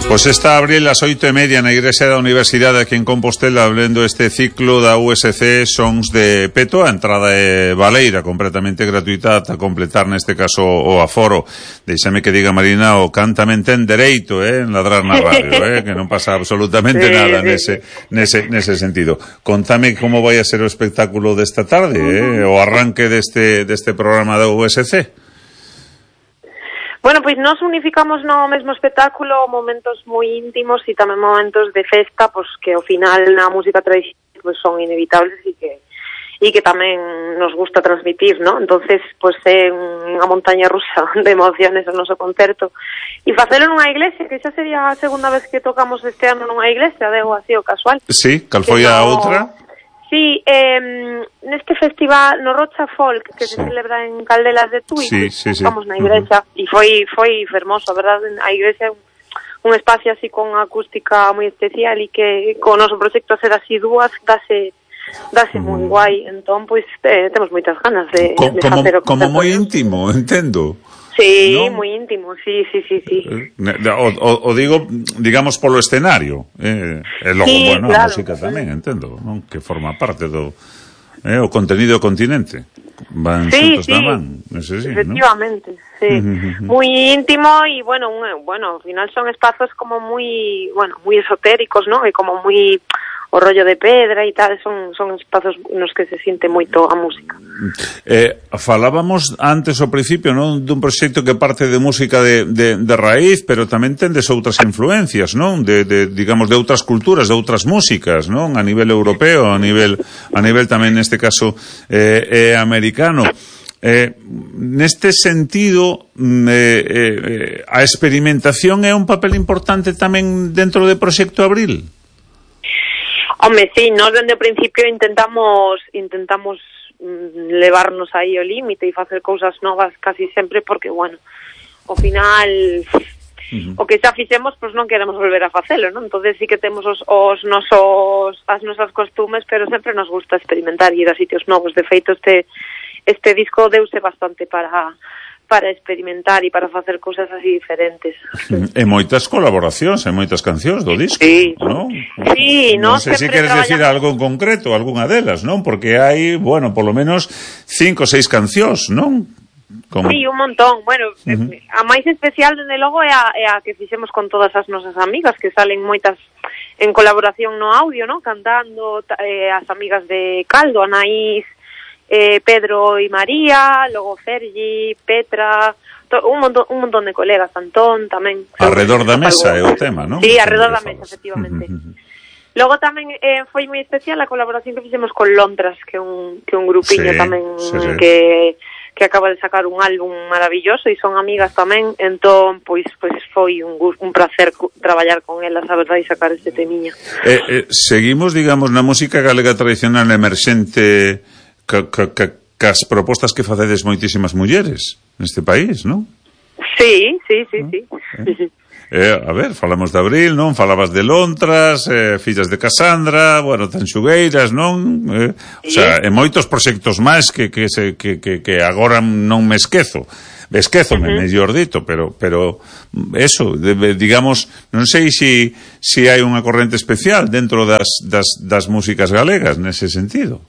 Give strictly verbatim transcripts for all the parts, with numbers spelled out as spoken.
Pois está a abril as oito e media na Igrexa da Universidade aquí en Compostela, abrindo este ciclo da U S C Sons de Peto. A entrada é baleira, completamente gratuita, ata completar neste caso o aforo. Deixame que diga, Marina, o cántame ten dereito, eh, en ladrar na radio, eh, que non pasa absolutamente sí, nada sí. nese, nese, nese sentido. Contame como vai a ser o espectáculo desta tarde, eh, o arranque deste, deste programa da U S C. Bueno, pois nos unificamos no mesmo espectáculo momentos moi íntimos e tamén momentos de festa, pois que ao final na música tradicional pois son inevitables e que e que tamén nos gusta transmitir, ¿no? Entonces, pois é unha montaña rusa de emociones o noso concerto. E facelo nunha iglesia, que xa sería a segunda vez que tocamos este ano nunha iglesia, deu así o casual. Sí, cal foi a outra? Sí, eh, neste festival no Rocha Folk que sí. se celebra en Caldelas de Tui, sí, sí, sí. estamos na igrexa e uh-huh. foi foi fermoso, a verdade, a igrexa é un, un espacio así con acústica moi especial e que con o noso proxecto a ser así dúas dase dase moi uh-huh. guai, entón pois eh, temos moitas ganas de, Co- de como, facer o como moi íntimo, entendo. Sí, ¿no? moi íntimo, sí, sí, sí, sí. O, o, o digo, digamos, polo escenario. Eh, e logo, sí, bueno, claro. a música tamén, entendo, non? Que forma parte do eh, o contenido do continente. Van sí, xuntos sí, da man, ese sí, efectivamente, ¿no? Sí. Moi íntimo e, bueno, un, bueno, ao final son espazos como moi, bueno, moi esotéricos, ¿no? E como moi o rollo de pedra e tal, son son espazos nos que se siente moito a música. Eh, falábamos antes ao principio, non, dun proxecto que parte de música de, de, de raíz, pero tamén tendes outras influencias, non? De, de, digamos, de outras culturas, de outras músicas, non? A nivel europeo, a nivel a nivel tamén neste caso eh, eh, americano. Eh, neste sentido eh, eh, a experimentación é un papel importante tamén dentro do Proxecto Abril? Home, sí, nós dende o principio intentamos intentamos mm, levarnos aí o límite e facer cousas novas casi sempre porque, bueno, ao final uh-huh. o que xa fixemos, pois non queremos volver a facelo, non? Entonces sí que temos os, os nosos as nosas costumes, pero sempre nos gusta experimentar e ir a sitios novos. De feito, este este disco deuse bastante para para experimentar e para facer cousas así diferentes. E moitas colaboracións, e moitas cancións do disco, sí. non? Sí, non no, sei se queres decir algo en concreto, algunha delas, non? Porque hai, bueno, polo menos cinco ou seis cancións, non? Como... Sí, un montón. Bueno, uh-huh. a máis especial, dende logo, é a, é a que fixemos con todas as nosas amigas, que salen moitas en colaboración no audio, non? Cantando, eh, as amigas de Caldo, Anaís, Eh, Pedro y María, logo Fergi, Petra, to, un montón un montón de colegas, Antón tamén. Alrededor da mesa é o tema, non? Sí, alrededor da mesa, efectivamente. Uh-huh. Logo tamén eh, foi moi especial a colaboración que fixemos con Lontras, que é un que un grupiño sí, tamén sí, sí. que que acaba de sacar un álbum maravilloso e son amigas tamén, entón pois pois foi un un placer traballar con elas, a verdade, e sacar este temiño. Eh, eh, seguimos, digamos, na música galega tradicional emerxente Que, que, que, que as propostas que facedes moitísimas mulleres neste país, non? Sí, sí, sí, ¿no? sí. Eh, eh, a ver, falamos de Abril, non? Falabas de Lontras, eh, Fillas de Casandra, bueno, Tanxugueiras, non? Eh, sí. O sea, e moitos proxectos máis que, que, se, que, que, que agora non me esquezo. Esquézome, uh-huh. mellor dito, pero pero eso, de, digamos, non sei se si, si hai unha corrente especial dentro das, das, das músicas galegas nese sentido.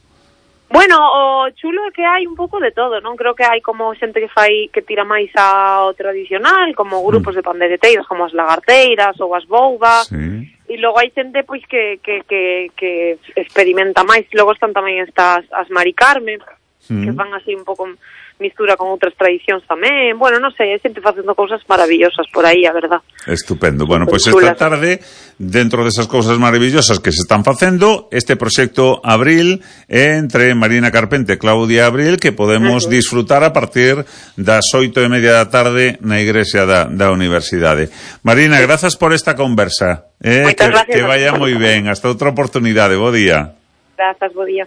Bueno, o chulo é que hai un pouco de todo, non? Creo que hai como xente que fai que tira máis ao tradicional, como grupos mm. de pandereteiros como as lagarteiras ou as boubas, sí. E logo hai xente pois que, que, que, que experimenta máis. Logo están tamén estas as Mari Carmen, mm. que van así un pouco mistura con outras tradicións tamén. Bueno, non sei, é xente facendo cousas maravillosas por aí, a verdad. Estupendo. Bueno, pois pues esta tarde, dentro desas cousas maravillosas que se están facendo, este proxecto Abril entre Marina Carpente e Claudia Abril, que podemos uh-huh. disfrutar a partir das oito e media da tarde na Igrexa da, da Universidade. Marina, grazas por esta conversa. Eh, que, que vaya moi ben. Hasta outra oportunidade. Bo día. Grazas, bo día.